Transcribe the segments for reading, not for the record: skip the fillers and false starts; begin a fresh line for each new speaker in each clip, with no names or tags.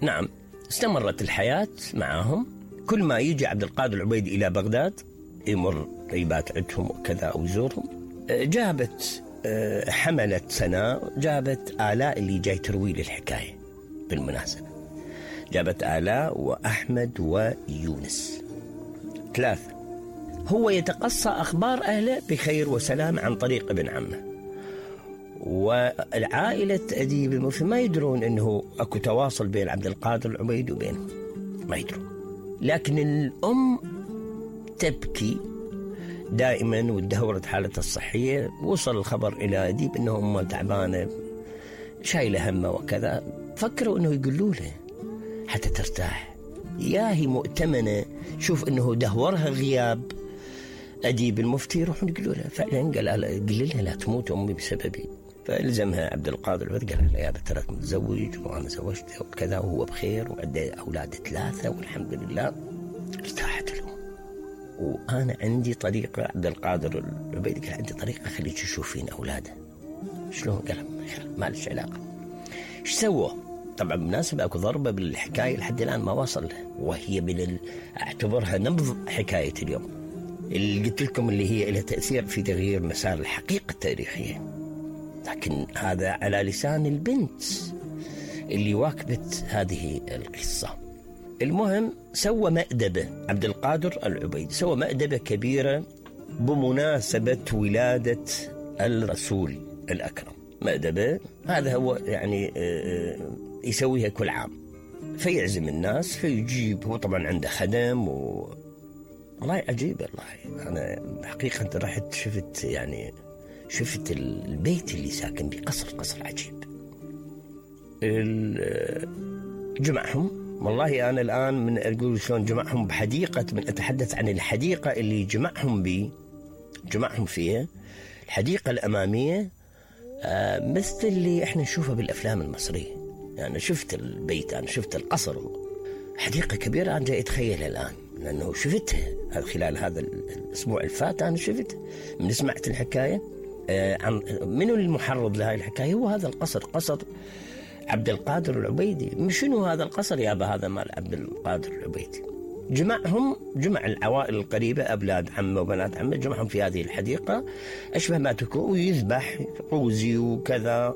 نعم، استمرت الحياة معهم. كل ما يجي عبد القادر العبيدي إلى بغداد يمر يبات عندهم وكذا أو يزورهم. جابت حملت سناء، جابت آلاء اللي جاي تروي للحكاية. بالمناسبة جابت آلاء وأحمد ويونس، 3. هو يتقصى أخبار أهله بخير وسلام عن طريق ابن عمه، والعائلة أديب المفتي ما يدرون أنه أكو تواصل بين عبد القادر العبيدي وبينهم، ما يدرون. لكن الأم تبكي دائما وتدهورت حالتها الصحية. وصل الخبر إلى أديب أنه أمه تعبانة شايلة همه وكذا. فكروا أنه يقولوا له حتى ترتاح، يا هي مؤتمنة، شوف أنه دهورها غياب أديب المفتي، يروحون يقولوا له. فعلا قال لها لا تموت أمي بسببي. فالزمها عبد القادر العبيدي قال لها يا ترى متزوج وأنا زوجته وكذا وهو بخير وعنده أولاد 3 والحمد لله. ارتاحت الأم. وأنا عندي طريقة، عبد القادر العبيدي قال عندي طريقة خليك تشوفين أولاده. شلون؟ قال ما لش علاقة. ايش سووا؟ طبعا بالمناسبة اكو ضربة بالحكاية لحد الآن ما وصل، وهي اعتبرها نبض حكاية اليوم اللي قلت لكم، اللي هي لها تأثير في تغيير مسار الحقيقة التاريخية. لكن هذا على لسان البنت اللي واكبت هذه القصة. المهم سوى مأدبة عبد القادر العبيدي، سوى مأدبة كبيرة بمناسبة ولادة الرسول الأكرم. مأدبة هذا هو يعني يسويها كل عام، فيعزم الناس، فيجيب. هو طبعا عنده خدم والله عجيب. والله أنا حقيقة رحت شفت البيت اللي ساكن به، قصر عجيب. جمعهم، والله أنا الآن من أقول شلون جمعهم بحديقة، من أتحدث عن الحديقة اللي جمعهم فيها، الحديقة الأمامية مثل اللي احنا نشوفها بالأفلام المصرية. يعني شفت البيت، أنا شفت القصر، حديقة كبيرة. أنا جاي أتخيلها الآن لأنه شفتها خلال هذا الأسبوع الفات. أنا شفت من سمعت الحكاية عن منو المحرض لهذه الحكاية، هو هذا القصر، قصر عبد القادر العبيدي. شنو هذا القصر يابا؟ هذا مال عبد القادر العبيدي. جمع العوائل القريبة، أولاد عمه وبنات عمه، جمعهم في هذه الحديقة أشبه ما تكون، ويذبح قوزي وكذا.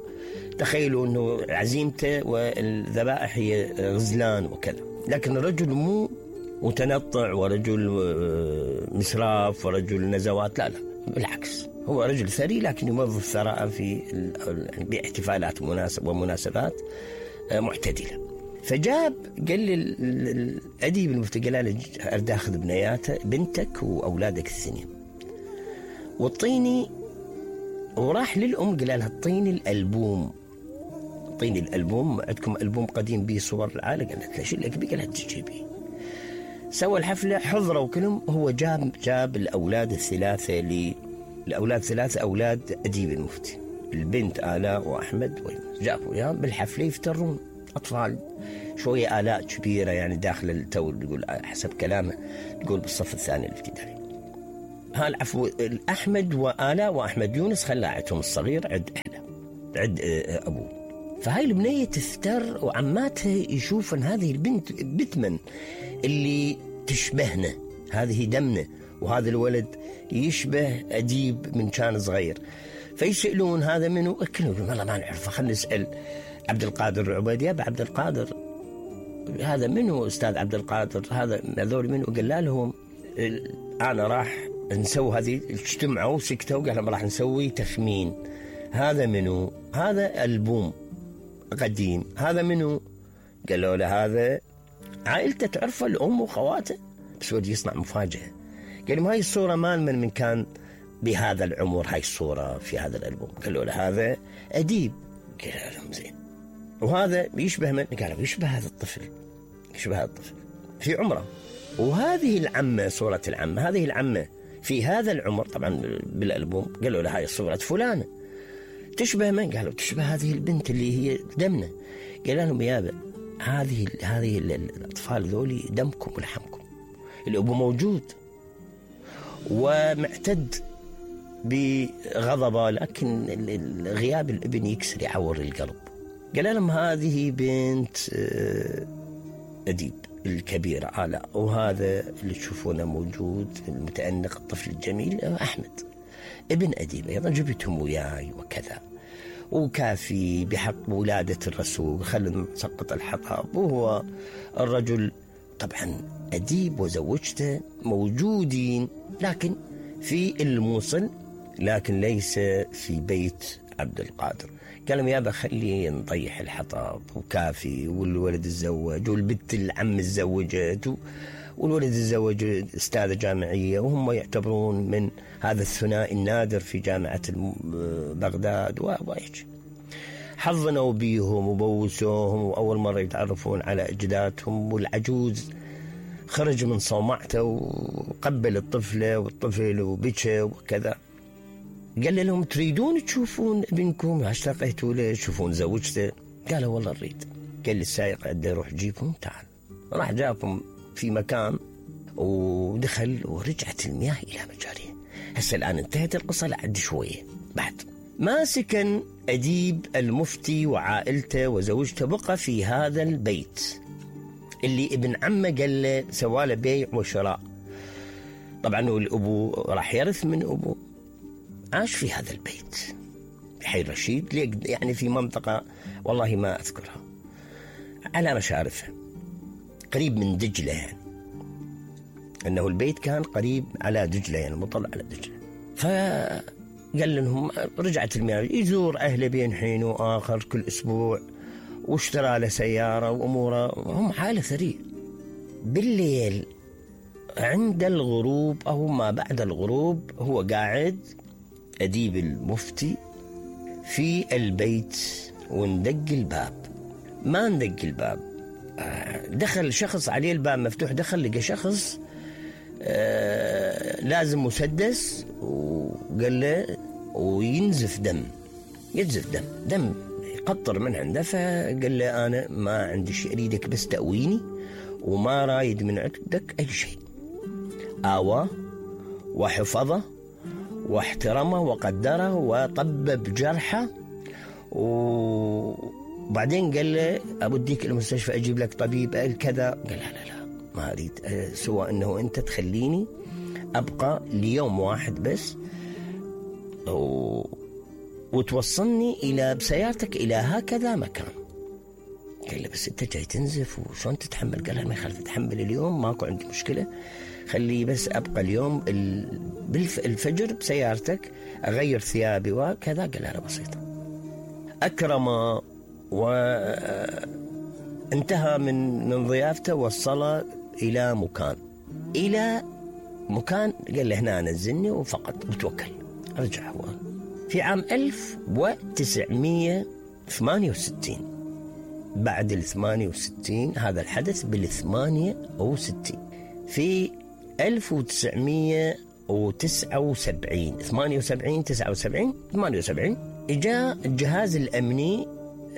تخيلوا أنه عزيمته والذبائح هي غزلان وكذا. لكن الرجل مو متنطع ورجل مسراف ورجل نزوات، لا بالعكس، هو رجل ثري لكن يوظف ثراء في باحتفالات ومناسبات معتدلة. فجاب قال للأديب المفتي، قال له أريد أخذ بنتك وأولادك الثنين والطيني. وراح للأم قال لها اعطيني الألبوم، عندكم ألبوم قديم به صور العائلة؟ قالت له شو لك بيه؟ قالت تجيبي. سوى الحفلة، حضروا كلهم. هو جاب الأولاد ثلاثة أولاد أديب المفتي، البنت آلاء وأحمد، جابوا وياهم بالحفلة يفترون. أطفال شوية، آلاء كبيرة يعني داخل التو، يقول حسب كلامه تقول بالصف الثاني الابتدائي. العفو، أحمد وآلاء وأحمد يونس خلاعتهم الصغير عد أبوه. فهاي البنية تفتر، وعماتها يشوفن هذه البنت بتمن اللي تشبهنا، هذه دمنا، وهذا الولد يشبه أديب من كان صغير. فيسألون هذا منو؟ كلهم والله ما نعرف، خلينا نسأل عبد القادر العبيدي. يا عبد القادر هذا منو أستاذ عبد القادر؟ هذول منو؟ قال لهم أنا راح نسوي هذه. اجتمعوا سكتوا، قال لهم راح نسوي تخمين. هذا منو؟ هذا ألبوم قديم. هذا منو؟ قالوا له هذا عائلته تعرفه، الأم وخواته. بس ودي يصنع مفاجأة. قال لهم هاي الصورة مال من كان بهذا العمر، هاي الصورة في هذا الألبوم. قالوا له هذا أديب. قال لهم زين، وهذا يشبه من؟ قالوا يشبه هذا الطفل في عمره. وهذه العمة، صورة العمة، هذه العمة في هذا العمر طبعا بالألبوم. قالوا له هاي صورة فلانة تشبه من؟ قالوا تشبه هذه البنت اللي هي دمنا. قال لهم يابا هذه الأطفال ذولي دمكم ولحمكم، الأبو موجود ومعتد بغضبه، لكن غياب الابن يعور القلب. قال لهم هذه بنت أديب الكبيرة آلاء، وهذا اللي تشوفونه موجود المتأنق الطفل الجميل أحمد ابن أديب أيضا، جبتهم وياي وكذا، وكافي بحق ولادة الرسول، خلنا نسقط الحطب. وهو الرجل طبعا أديب وزوجته موجودين لكن في الموصل، لكن ليس في بيت عبد القادر. قال لهم يابا خلي نطيح الحطب وكافي، والولد تزوج والبنت العم تزوجت والولد تزوج استاذة جامعية، وهم يعتبرون من هذا الثنائي النادر في جامعة بغداد وهيك. حضنوا بيهم وبوسوهم، وأول مرة يتعرفون على أجدادهم. والعجوز خرج من صومعته وقبل الطفلة والطفل وبكى وكذا. قال لهم تريدون تشوفون ابنكم؟ اشتقيتوا له تشوفون زوجته؟ قالوا والله نريد. قال للسائق عده روح جيبهم تعال. راح جابهم في مكان ودخل، ورجعت المياه إلى مجاريها. هسه الآن انتهت القصة لعد شوية. بعد ما سكن أديب المفتي وعائلته وزوجته، بقى في هذا البيت اللي ابن عمه قال له سواله بيع وشراء. طبعا الأبو راح يرث من أبوه. عاش في هذا البيت بحي رشيد، يعني في منطقة والله ما أذكرها، على مشارفها قريب من دجلة، يعني أنه البيت كان قريب على دجلة، يعني مطلع على دجلة. فقال لهم رجعت المياه، يزور أهله بين حين وآخر كل أسبوع، واشترى له سيارة وأموره، هم حالة ثرية. بالليل عند الغروب أو ما بعد الغروب هو قاعد أديب المفتي في البيت، وندق الباب. ما ندق الباب، دخل شخص عليه الباب مفتوح، دخل لقى شخص لازم مسدس، وقال له وينزف دم، ينزف دم يقطر من عنده. فقال له أنا ما عندي شيء، أريدك بس تأويني وما رايد من عندك أي شيء. آواه وحفظه واحترمه وقدره وطبب جرحه، وبعدين قال له أوديك المستشفى أجيب لك طبيب الكذا. قال لا ما أريد، سوى أنه أنت تخليني أبقى ليوم واحد بس وتوصلني إلى بسيارتك إلى هكذا مكان. قال له بس أنت جاي تنزف وشون تتحمل؟ قال له ما يخالف تتحمل اليوم، ماكو عندي مشكلة، خلي بس أبقى اليوم بالفجر بسيارتك أغير ثيابي وكذا. قال له بسيطة. أكرم وانتهى من ضيافته، وصل إلى مكان قال له هنا نزلني وفقط وتوكل. رجع هو في عام 1968. بعد 68 هذا الحدث 68 في 1979 78 اجا الجهاز الامني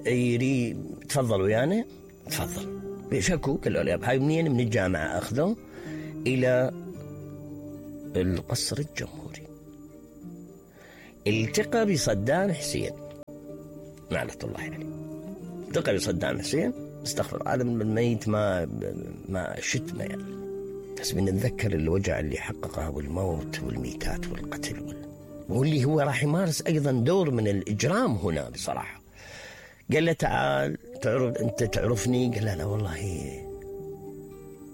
يري تفضل ويانا، تفضل بشكو. قالوا له هاي منين؟ من الجامعه. اخذوه الى القصر الجمهوري، التقى بصدام حسين لعنة الله عليه. التقى بصدام حسين، استغفر هذا من الميت ما شتمه يعني، بس بنتذكر الوجع اللي حققه والموت والميتات والقتل واللي هو راح يمارس أيضا دور من الإجرام هنا بصراحة. قال له تعال أنت تعرفني؟ قال له لا والله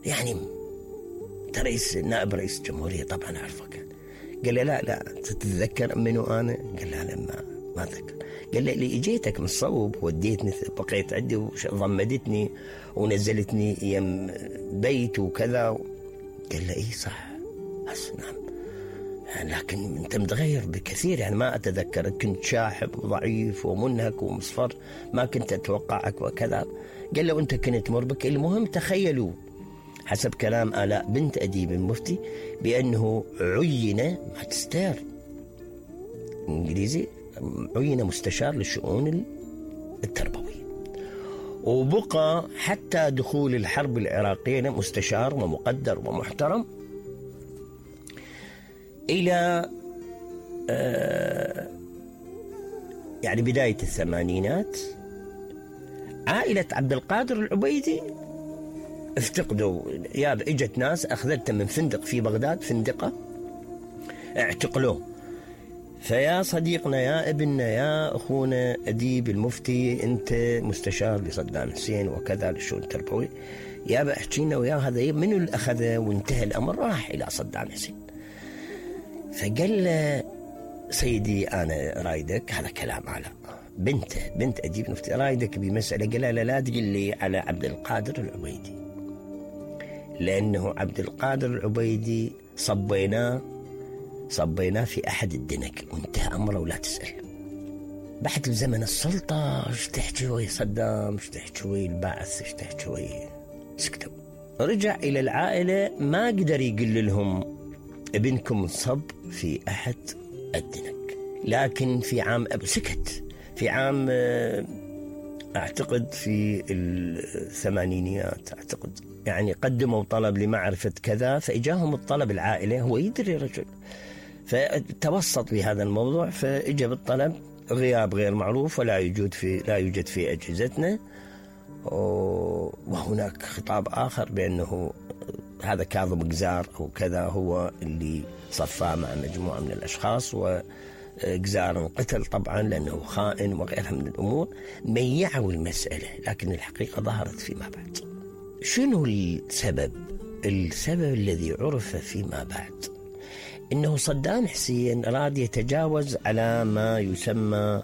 يعني أنت نائب رئيس الجمهورية طبعا أعرفك. قال له لا تتذكر منو أنا؟ قال له لا ما أتذكر. قال له اللي اجيتك من الصوب وديتني، بقيت عندي وضمدتني ونزلتني يم بيت وكذا. قال له اي صح، بس نعم، لكن انت متغير بكثير، يعني ما اتذكر، كنت شاحب وضعيف ومنهك ومصفر، ما كنت اتوقعك وكذا. قال له انت كنت مربك. المهم تخيلوا حسب كلام آلاء بنت أديب المفتي بأنه عين ماجستير إنجليزي، عين مستشار للشؤون التربوية، وبقى حتى دخول الحرب العراقية مستشار ومقدر ومحترم إلى يعني بداية الثمانينات. عائلة عبد القادر العبيدي افتقدوا، اجت ناس اخذته من فندق في بغداد، فندقة اعتقلوه. فيا صديقنا، يا ابننا، يا اخونا اديب المفتي، انت مستشار لصدام حسين وكذا للشؤون التربوي، يا احكينا ويا هذا منو اللي اخذه وانتهى الامر؟ راح الى صدام حسين. فقال له سيدي انا رايدك، هذا كلام على بنت اديب المفتي، رايدك بمساله. قال لا تقل لي على عبد القادر العبيدي، لانه عبد القادر العبيدي صبيناه في احد الدنك وانتهى امره ولا تسال. بعد زمن السلطه ايش تحكي ويا صدام، ايش تحكي ويا البعث، ايش تحكي ويا، سكتوا. رجع الى العائله، ما قدر يقول لهم ابنكم صب في احد الدنك. لكن في عام سكت، في عام اعتقد في الثمانينيات اعتقد، يعني قدموا طلب لمعرفة كذا، فإجاهم الطلب العائلة، هو يدري رجل، فتوسط في هذا الموضوع، فإجا بالطلب غياب غير معروف ولا يوجد في أجهزتنا. وهناك خطاب آخر بأنه هذا كاظم قزار أو كذا هو اللي صفاه مع مجموعة من الأشخاص، وقزار قتل طبعا لأنه خائن وغيرها من الأمور. ميعوا المسألة، لكن الحقيقة ظهرت فيما بعد. شنو السبب الذي عرف فيما بعد؟ إنه صدام حسين أراد يتجاوز على ما يسمى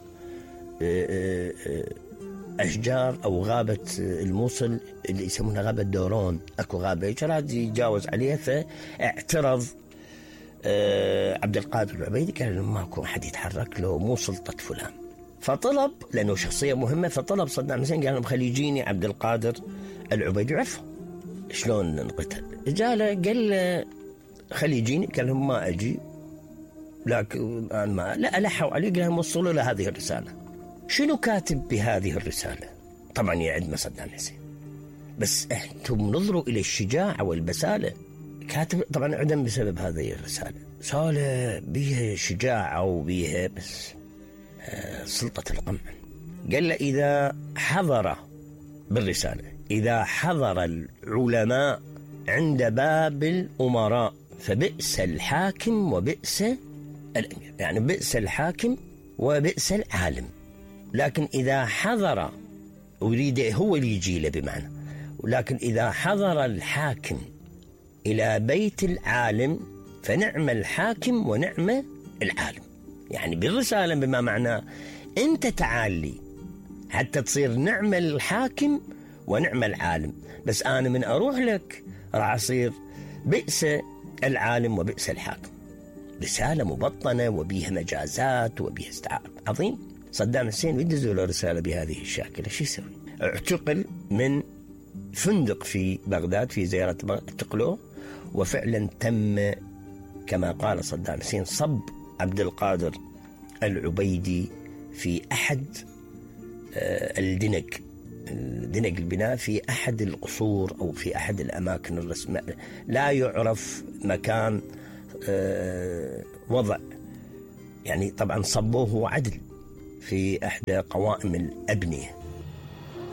أشجار أو غابة الموصل اللي يسمونها غابة دورون، أكو غابة أراد يتجاوز عليها، فاعترض عبد القادر العبيدي، قال له ماكو أحد يتحرك له، مو سلطة فلان. فطلب، لأنه شخصية مهمة، فطلب صدام حسين قال لهم خلي يجيني عبد القادر العبيدي. عرفوا شلون انقتل، جاله قال له خلي يجيني، قال لهم ما أجي، لكن ما لا ألحوا عليه، قال لهم وصلوا له هذه الرسالة. شنو كاتب بهذه الرسالة؟ طبعا يعد صدام حسين، بس أنتم نظروا إلى الشجاعة والبسالة. كاتب طبعا عدم بسبب هذه الرسالة، رسالة بيها شجاعة وبيها بس سلطة القمع. قال له إذا حضر بالرسالة، إذا حضر العلماء عند باب الأمراء فبئس الحاكم وبئس الأمير، يعني بئس الحاكم وبئس العالم. لكن إذا حضر، ويريد هو اللي يجي له بمعنى، ولكن إذا حضر الحاكم إلى بيت العالم فنعم الحاكم ونعم العالم. يعني بالرسالة بما معناه أنت تعالي حتى تصير نعم الحاكم ونعم العالم، بس أنا من أروح لك راح أصير بئس العالم وبئس الحاكم. رسالة مبطنة وبيها مجازات وبيها استعارة. عظيم. صدام حسين يدزوا له رسالة بهذه الشاكلة، شو يسوي؟ اعتقل من فندق في بغداد، في زيارة اعتقلوه، وفعلا تم كما قال صدام حسين صب عبد القادر العبيدي في أحد الدنق البناء، في أحد القصور أو في أحد الأماكن الرسمية، لا يعرف مكان وضع. يعني طبعا صبوه عدل في إحدى قوائم الأبنية،